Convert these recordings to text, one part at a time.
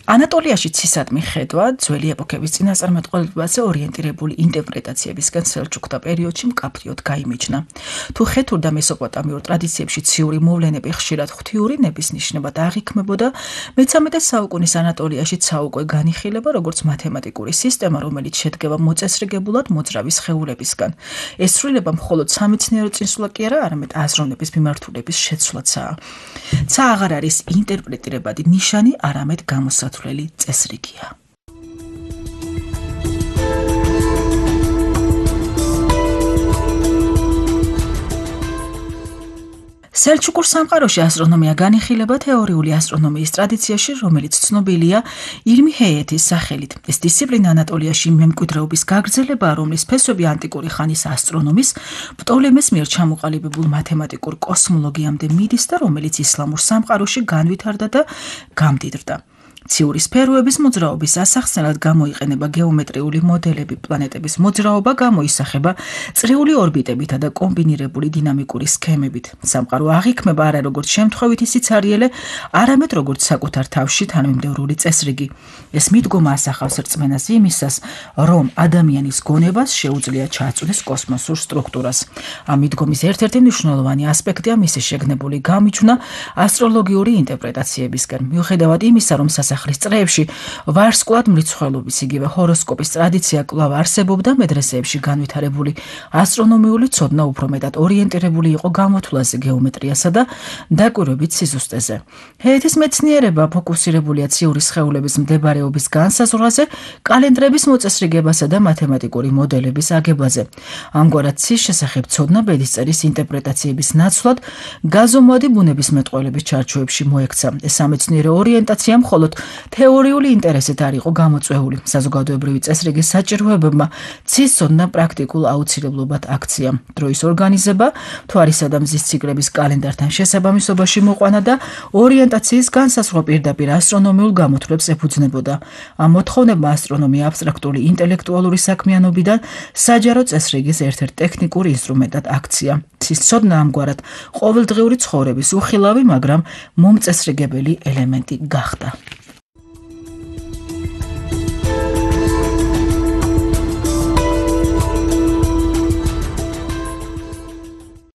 ანატოლიაში ცისადმი ხედვა ძველი ეპოქების წინასწარმეტყველებაზე ორიენტირებული ინტერპრეტაციებისგან სელჩუკთა პერიოდში მკაფიოდ გაიმიჯნა. თუ ხეთურ და მესოპოტამიურ ტრადიციებში ციური მოვლენები ხშირად ღვთიური ნებისნიშნებად აღიქმებოდა, მე-13 საუკუნის ანატოლიაში საუკვე განიხილება როგორც მათემატიკური სისტემა, რომელიც შედგება მოწესრიგებულად მოძრავი სხეულებისგან. ეს ცვლილება მხოლოდ სამეცნიერო წინსვლა კი არა, არამედ აზროვნების მიმართულების შეცვლაცაა. ცა აღარ არის ინტერპრეტირებადი ნიშანი, არამედ გამოსათვლელი წესრიგია. სელჩუკურ სამყაროში ასტრონომია განიხილება თეორიული ასტრონომიის ტრადიციაში, რომელიც ცნობილია ილმი ჰეიეთის სახელით. ეს დისციპლინა ანატოლიაში მემკვიდრეობის გაგრძელებაა, რომლის ფესვები ანტიკური ხანის ასტრონომის პტოლემეს მიერ ჩამოყალიბებულ მათემატიკურ კოსმოლოგიამდე მიდის და რომელიც ისლამურ სამყაროში განვითარდა და გამდიდრდა. ციური სფეროების მოძრაობის ასახსნელად გამოიყენება გეომეტრიული მოდელები, პლანეტების მოძრაობა გამოისახება წრიული ორბიტებითა და კომბინირებული დინამიკური სქემებით. სამყარო აღიქმება არა როგორც შემთხვევითი სიცარიელე, არამედ როგორც საკუთარ თავში თანმიმდევრული წესრიგი. ეს მიდგომა ასახავს რწმენას იმისას, რომ ადამიანის გონებას შეუძლია ჩააწვდეს კოსმოსურ სტრუქტურას. ამ მიდგომის ერთ-ერთი მნიშვნელოვანი ასპექტია მისი შეგნებული გამიჯვნა ასტროლოგიური ინტერპრეტაციებისგან. მიუხედავად იმისა, რომ სასახლის წრეებში ვარსკვლავად მრიცხველობის, იგივე ჰოროსკოპის ტრადიცია კვლავ არსებობდა, მედრესეებში განვითარებული ასტრონომიული ცოდნა უფრო მეტად ორიენტირებული იყო გამოთვლაზე, გეომეტრიასა და დაკვირვებით სიზუსტეზე. ჰეიეთის მეცნიერება ფოკუსირებულია ციური სხეულების მდებარეობის განსაზღვრაზე, კალენდრების მოწესრიგებასა და მათემატიკური მოდელების აგებაზე. ამგვარად ცის შესახებ ცოდნა ბედისწერის ინტერპრეტაციების ნაცვლად გაზომვადი ბუნებისმეტყველების ჩარჩოებში მოექცა. ეს სამეცნიერო ორიენტაცია მხოლოდ თეორიული ინტერესით არ იყო გამოწვეული. საზოგადოებრივი წესრიგის საჭიროებებმა ცის ცოდნა პრაქტიკულ აუცილებლობად აქცია. დროის ორგანიზება, მთვარისა და მზის ციკლების კალენდართან შესაბამისობაში მოყვანა და ორიენტაციის განსაზღვრა პირდაპირ ასტრონომიულ გამოთვლებს ეფუძნებოდა. ამ მოთხოვნებმა ასტრონომია აბსტრაქტული ინტელექტუალური საქმიანობიდან საჯარო წესრიგის ერთ-ერთ ტექნიკურ ინსტრუმენტად აქცია. ცის ცოდნა ამგვარად ყოველდღიური ცხოვრების უხილავი, მაგრამ მომწესრიგებელი ელემენტი გახდა.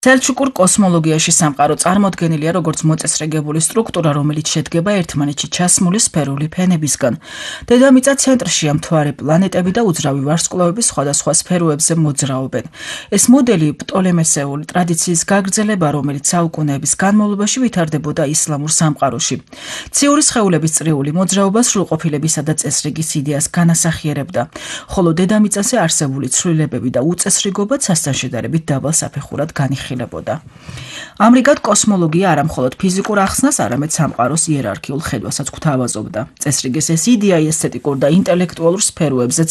სელჩუკურ კოსმოლოგიაში სამყარო წარმოდგენილია როგორც მოწესრიგებული სტრუქტურა, რომელიც შედგება ერთმანეთში ჩასმული სფერული ფენებისგან. დედამიწა ცენტრშია, მთვარე, პლანეტები და უძრავი ვარსკვლავები სხვადასხვა სფეროებზე მოძრაობენ. ეს მოდელი პტოლემესეული ტრადიციის გაგრძელება, რომელიც საუკუნეების განმავლობაში ვითარდებოდა ისლამურ სამყაროში. ციური სხეულების წრიული მოძრაობა სრულყოფილებისა და წესრიგის იდეას განასახიერებდა, ხოლო დედამიწაზე არსებული ცვლილებები და უწესრიგობა ცასთან შედარებით დაბალ საფეხურად განიხილება. ამრიგად კოსმოლოგია არა მხოლოდ ფიზიკურ ახსნას, არამედ სამყაროს იერარქიულ ხედვასაც გვთავაზობდა. წესრიგის ეს იდეა ესთეტიკურ და ინტელექტუალურ სფეროებზეც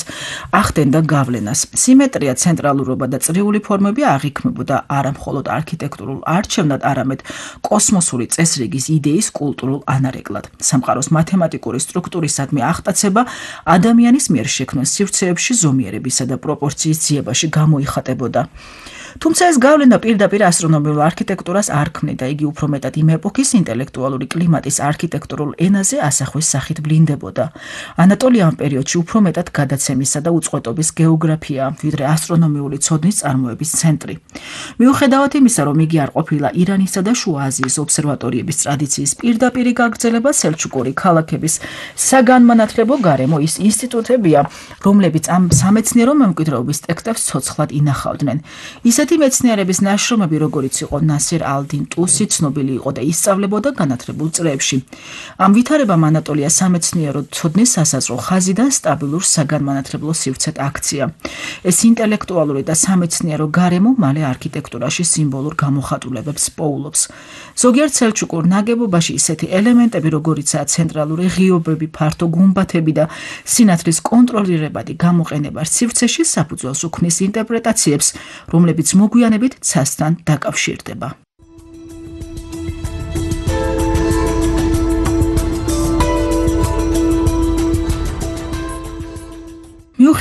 ახდენდა გავლენას. სიმეტრია, ცენტრალურობა და წრიული ფორმები აღიქმებოდა არა მხოლოდ არქიტექტურულ არჩევნად, არამედ კოსმოსური წესრიგის იდეის კულტურულ ანარეკლად. სამყაროს მათემატიკური სტრუქტურისადმი აღტაცება ადამიანის მიერ შექმნილ სივრცეებში ზომიერებისა და პროპორციის ძიებაში გამოიხატებოდა. თუმცა ეს გავლენა პირდაპირ ასტრონომიულ არქიტექტურას არ ქმნიდა, იგი უფრო მეტად იმ ეპოქის ინტელექტუალური კლიმატის არქიტექტურულ ენაზე ასახვის სახით ვლინდებოდა. ანატოლია ამ პერიოდში უფრო მეტად გადაცემისა და უწყვეტობის გეოგრაფია, ვიდრე ასტრონომიული ცოდნის წარმოების ცენტრი. მიუხედავად იმისა, რომ იგი არ ყოფილა ირანისა და შუა აზიის ობსერვატორიების ტრადიციის პირდაპირი გაგრძელება, სელჩუკური ქალაქების საგანმანათლებლო გარემო ის ინსტიტუტებია, რომლებიც ამ სამეცნიერო მემკვიდრეობის ტექსტებს ცოცხლად ინახავდნენ. ისეთი მეცნიერების ნაშრომები, როგორიც იყო ნასერ ალ-딘 ტუსი, ცნობილი იყო და ისწავლებოდა განათლებულ წრეებში. ამ ვითარებამ ანატოლია სამეცნიერო ცოდნის სასაზღვრო ხაზი და სტაბილურ საგანმანათლებლო სივრცედ აქცია. ეს ინტელექტუალური და სამეცნიერო გარემო მალე არქიტექტურაში სიმბოლურ გამოხატულებებს პოულობს. ზოგიერთ სელჩუკურ ნაგებობაში ისეთი ელემენტები, როგორიცაა ცენტრალური ღიობები, ფართო გუმბათები და სინათლის კონტროლირებადი გამოყენება სივრცეში საფუძველს უქმნის ინტერპრეტაციებს, რომლებიც მოგვიანებით ცასთან დაკავშირდება.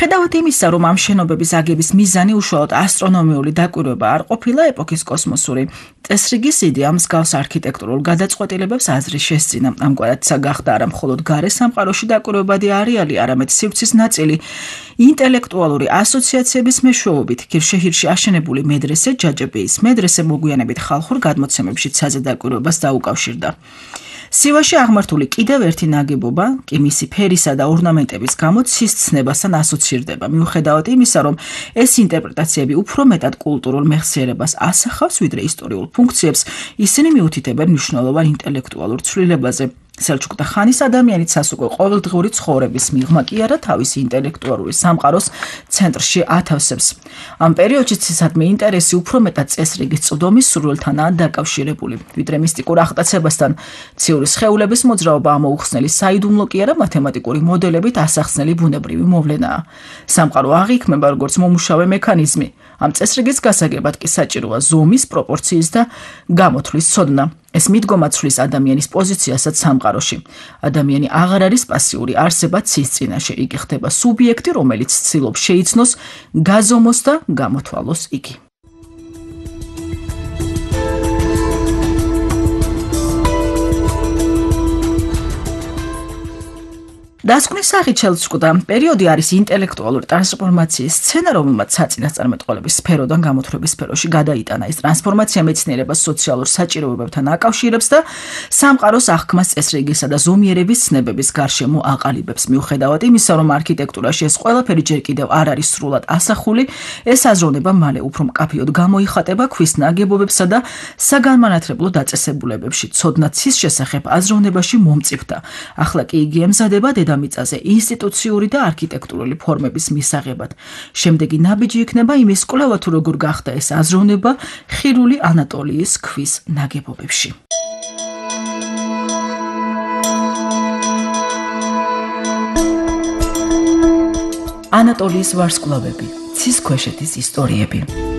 მიუხედავად იმისა, რომ ამ შენობების აგების მიზანი უშუალოდ ასტრონომიული დაკვირვება არ ყოფილა, ეპოქის კოსმოსური წესრიგის იდეა მსგავს არქიტექტურულ გადაწყვეტილებებს აზრის შესწინა. ამგვარად გახდა არა მხოლოდ გარე სამყაროში დაკვირვებადი არეალი, არამედ სივრცის ნაწილი ინტელექტუალური ასოციაციების მეშვეობით ქირშეჰირში აშენებული მედრესე ჯაჯებეის მედრესე მოგვიანებით ხალხურ გადმოცემებში ცაზე დაკვირვებას დაუკავშირდა. სივაში აღმართული კიდევ ერთი ნაგებობა კი მისი ფერისა და ორნამენტების გამო ცის ცნებასთან ასოცირდება. მიუხედავად იმისა, რომ ეს ინტერპრეტაციები უფრო მეტად კულტურულ მეხსიერებას ასახავს, ვიდრე ისტორიულ ფუნქციებს, ისინი მიუთითებენ მნიშვნელოვან ინტელექტუალურ ცვლილებაზე. სელჩუკთა ხანის ადამიანიც უკვე ყოველდღიური ცხოვრების მიღმა კი არა თავისი ინტელექტუალური სამყაროს ცენტრში ათავსებს. ამ პერიოდში ცისადმი ინტერესი უფრო მეტად წესრიგის წვდომის სურვილთანაა დაკავშირებული, ვიდრე მისტიკურ აღტაცებასთან. ციური სხეულების მოძრაობა ამოუხსნელი საიდუმლო კი არა მათემატიკური მოდელებით ასახსნელი ბუნებრივი მოვლენაა. სამყარო აღიქმება როგორც მომუშავე მექანიზმი. ამ წესრიგის გასაგებად კი საჭიროა ზომის, პროპორციის და გამოთვლის ცოდნა. ეს მიდგომა ცვლის ადამიანის პოზიციასაც სამყაროში. ადამიანი აღარ არის პასიური არსება ცის წინაშე, იგი ხდება სუბიექტი, რომელიც ცდილობს შეიცნოს, გაზომოს და გამოთვალოს იგი. დასკვნის სახით შელჩუკთა პერიოდი არის ინტელექტუალური ტრანსფორმაციის სცენა, რომელმაც საწინასწარმეტყველების სფეროდან გამოთვლების სფეროში გადაიტანა. ეს ტრანსფორმაცია მეცნიერებას სოციალურ საჭიროებებთან აკავშირებს და სამყაროს აღქმას წესრიგისა და ზომიერების ცნებების გარშემო აყალიბებს. მიუხედავად იმისა, რომ არქიტექტურაში ეს ყველაფერი ჯერ კიდევ არ არის სრულად ასახული, ეს აზროვნება მალე უფრო მკაფიოდ გამოიხატება ქვის ნაგებობებსა და საგანმანათლებლო დაწესებულებებში. ცოდნა ცის შესახებ აზროვნებაში მომწიფდა. ახლა კი იგი ემზადება დედამიწაზე ინსტიტუციური და არქიტექტურული ფორმების მისაღებად. შემდეგი ნაბიჯი იქნება იმის კვლევა, თუ როგორ გახდა ეს აზროვნება ხირული ანატოლიის ქვის ნაგებობებში. ანატოლიის ვარსკვლავები, ცის ქვეშეთის ისტორიები.